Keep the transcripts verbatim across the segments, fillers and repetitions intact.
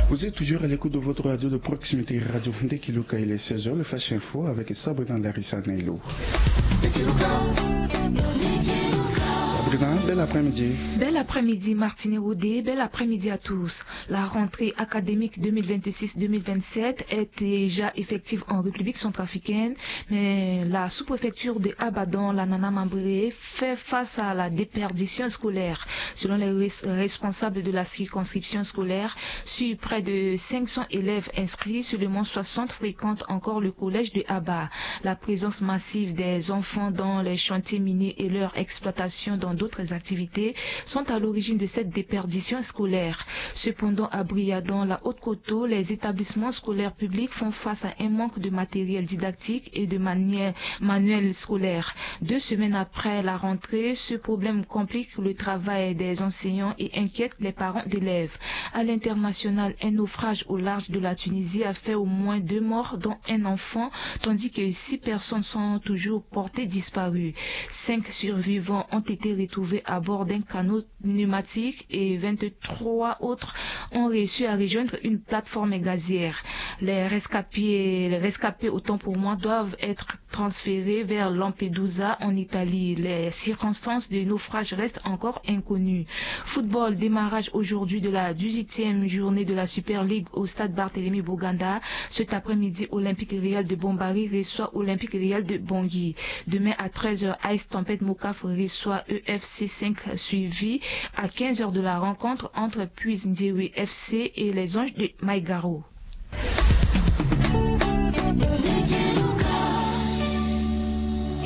Vous êtes toujours à l'écoute de votre radio de proximité, Radio Ndekiluka. Il est seize heures, le Flash Info avec Sabrina Larissa Nailo. Sabrina, bel après-midi. Bel après-midi, Martine Rodé, bel après-midi à tous. La rentrée académique deux mille vingt-six deux mille vingt-sept est déjà effective en République centrafricaine, mais la sous-préfecture de Abadan, la Nana Mambré, fait face à la déperdition scolaire. Selon les res- responsables de la circonscription scolaire, sur près de cinq cents élèves inscrits, seulement soixante fréquentent encore le collège de Aba. La présence massive des enfants dans les chantiers miniers et leur exploitation dans d'autres activités sont à l'origine de cette déperdition scolaire. Cependant, à Briadon, la Haute-Koto, les établissements scolaires publics font face à un manque de matériel didactique et de manière manuel scolaire. Deux semaines après la rentrée, ce problème complique le travail des enseignants et inquiète les parents d'élèves. À l'international, un naufrage au large de la Tunisie a fait au moins deux morts, dont un enfant, tandis que six personnes sont toujours portées disparues. Cinq survivants ont été retrouvés à bord d'un canot pneumatique et vingt-trois autres ont réussi à rejoindre une plateforme gazière. Les rescapés, les rescapés, autant pour moi, doivent être transférés vers Lampedusa en Italie. Les circonstances de naufrage restent encore inconnues. Football, démarrage aujourd'hui de la dix-huitième journée de la Super League au stade Barthélemy Boganda. Cet après-midi, Olympique Real de Bombari reçoit Olympique Real de Bangui. Demain à treize heures, Ice Tempête Mokaf reçoit E F C cinq, suivi à quinze heures de la rencontre entre Puis Ndiewe F C et les Anges de Maïgaro.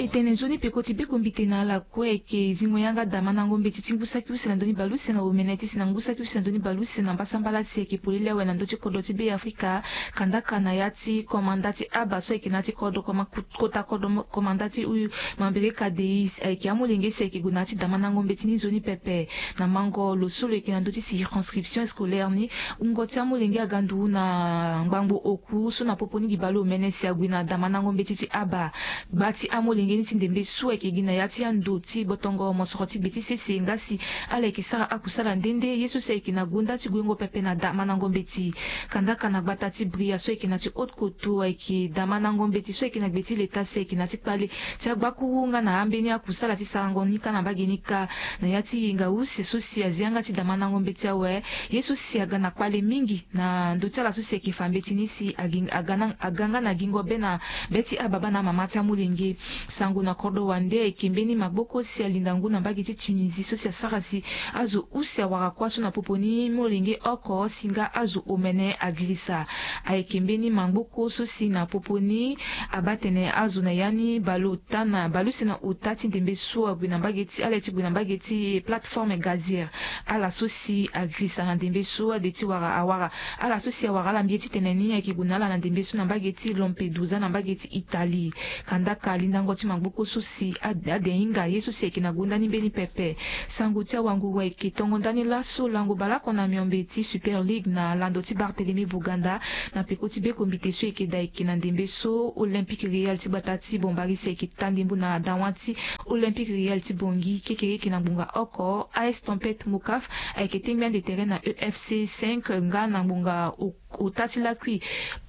E tene nzoni peko ti beko mbite na ala kue ayeke zingo yanga damandango mbeti ti ngu saki use na ndö ni baleuse na omene ti si na ngu saki use na ndö ni baleuse na mbasambala si ayeke polele awe na ndö ti kodro ti Be Afrika. Kandaka na ya ti komanda ti aba so ayeke na ya ti kodro koma- kota kodro mo- komanda ti u mambere kadeis ayeke amolenge si ayeke gue na ya ti damandango mbeti ni nzoni pepe. Na mango lo so lo yeke na ndö ti circonscription scolaire ni, wungo ti amolenge aga ndu na ngbangbo oku so na popo ni gi baleomene si ague na damandango mbeti ti aba. Gba ti amolenge ni ti ndembe so ayeke gi na ya ti ando ti botongo mosoro ti gbe ti sese nga si ala yeke sara akusala nde nde ye so si ayeke na gonda ti guengo pepe na damandango mbeti. Kandaka na gbata ti bria so ayeke na ti haute koto ayeke damandango mbeti so ayeke na gbe ti leta si ayeke na ti kpale ti agbakuru nga na ambeni akusala ti sarango ni kâ na mbage ni kâ. Na ya ti yenga use so si azi yanga ti damandango mbeti awe, ye so si aga na kpale mingi na ndö ti ala so si ayeke fa mbeti ni si aga nga na gingo be na be ti ababa na amama ti amolenge. Sango na kodro wande ayeke mbeni magboko si alinda ngu na mbage ti Tunisie so si asara si azo use awara kuâ so na popo ni molenge oko si nga azo omene agirisa. Ayeke mbeni magboko so si na popo ni abaa tene azo na ya ni baleota na baleuse na ota ti ndembe so ague na mbage ti ala ye ti gue na mbage ti plateforme gazière. Ala so si agirisa na ndembe so ade ti wara awara ala so si awara ala mbi ye ti tene ni ayeke gue na ala na ndembe so na mbage ti Lampedusa na mbage ti Italie. Kandaka lindango ti magboko so si ade ahinga ye so si ayeke na gonda ni mbeni pepe. Sango ti awanguru ayeke tongo ndani laso lango baleoko na miombe ti Super League na lando ti Barthélemy Boganda. Na peko ti beko mbite so ayeke daa ayeke na ndembe so Olympique Real ti gbata ti Bombari si ayeke taa ndembo na dawa ti Olympique Real ti Bangui kekereke na ngbonga oko. A S Tempête Mokaf ayeke tengbi ande tere na E F C cinq nga na ngbonga ota ti lakui.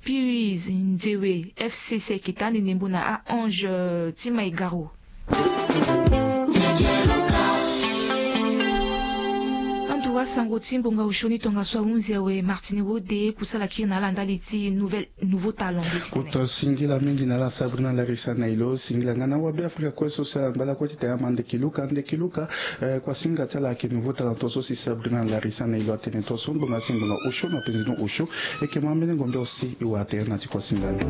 Puis Nzewe F C si ayeke taa ande ndembo na A Ange ti Maigaro. Anduka sango ti ngbonga osio ni tongaso ahunzi awe. Martini Rode kusala kiri na ala ndali ti nouvelle nouveau talent. Kota singila mingi na ala Sabrina Larissa Nailo. Singila nga na awabe Afrika kue so si ala ngba lakue ti tene ama ndeki luka ndeki luka. Kuasinga ti ala ayeke nouveau talent tongaso si Sabrina Larissa Nailo atene tongaso ngbonga si ngbonga osio na penze ni osio. E yeke ma ambeni ngombe aussi e wara tere na ti kuasinga ni.